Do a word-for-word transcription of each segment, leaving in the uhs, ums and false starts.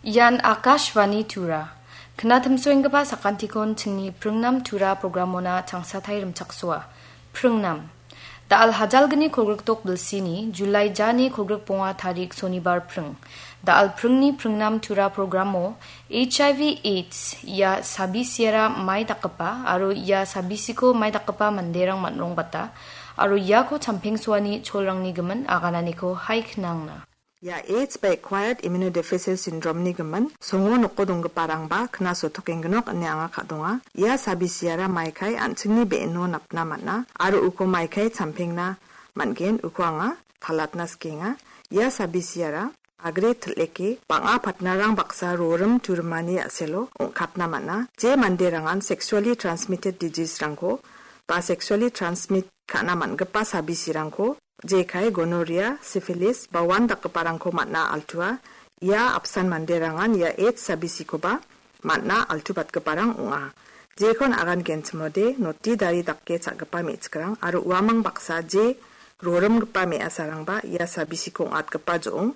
Ian Akashvani Tura. Knatimsoenggipa sakantikon chingni pringnam Tura programona changsatai rimchaksoa. Pringnam. Da·al hajalgni kolgrikdok bilsini, Julai jani kolgrikbonga tarik sonibar pring. Da·al pringni pringnam Tura programo H I V AIDS ia sabisiara mai dakgipa aro ia sabisiko mai dakgipa manderang man·rongbata aro iako champengsoani cholrangni gimin agananiko hai knangna. Ia AIDS ba Acquired Immunodeficiency Syndrome-ni gimin songo noko donggiparangba knasotokengnok ine anga ka·donga. Ia sabisiara maikai an·chingni be·eno napna man·a aro uko maikai champengna man·gen, uko anga kalatna sikenga. Ia sabisiara agre til·eke bang·a patnarang baksa rorim turimani a·selo ong·katna man·a. Je manderangan sexually transmitted disease-rangko ba sexually transmit ka·na man·gipa sabisirangko jekai gonorrhea, syphilis, ba wan dakgiparangko man·a altua. Ia apsan manderangan ia AIDS sabisikoba man·a altubatgiparang ong·a. Jekon agan genchimode noti dari dake cha·gipa me·chikrang aro uamang baksa je rorimgipa me·asarangba ia sabisiko ong·atgipa jo·ong,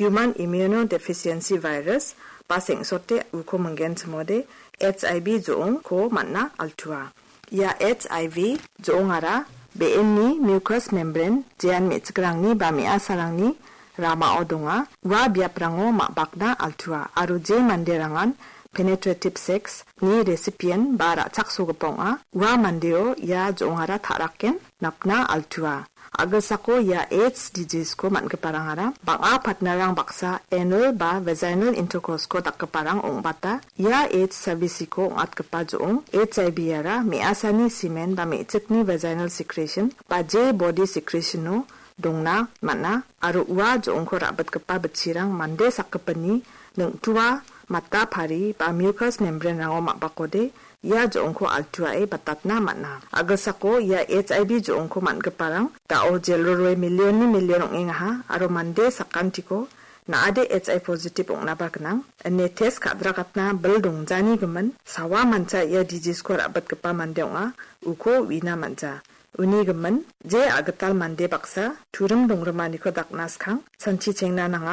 human immunodeficiency virus, ba seng·sote uko minggenchimode H I V jo·ongko man·a altua. Ia H I V jo·ongara be·enni mucous membrane, jean me·chikrangni ba me·asarangni ramao donga. Ua biaprango ma·bakna altua aro je manderangan penetrative sex-ni recipient ba ra·chaksogipa ong·a, ua mandeo ia jo·ongara ta·raken napna altua. A·gilsako ia AIDS disease-ko man·giparangara bang·a patnarang baksa anal ba vaginal intercourse-ko dakgiparang ong·bata. Ia AIDS sabisiko ong·atgipa jo·ong H I V-ara me·asani semen ba me·chikni vaginal secretion ba je body secretion-o dongna man·a aro ua jo·ongko ra·bitgipa bitchirang mande sakgipinni ningtua, mata pari ba mucous membrane-rango ma·bakode ia jo·ongko altuae batatna man·a. A·gilsako ia H I V jo·ongko man·giparang da·o jelroe million-ni million ong·engaha aro mande sakantiko na·ade H I V positive ong·naba gnang. Ine test ka·dragatna bil dongjani gimin sawa mancha ia disease-ko ra·bitgipa mande ong·a, uko uina man·ja. Uni gimin, je a·gital mande baksa turim dongrimaniko dakna skang, sanchi chengna nanga.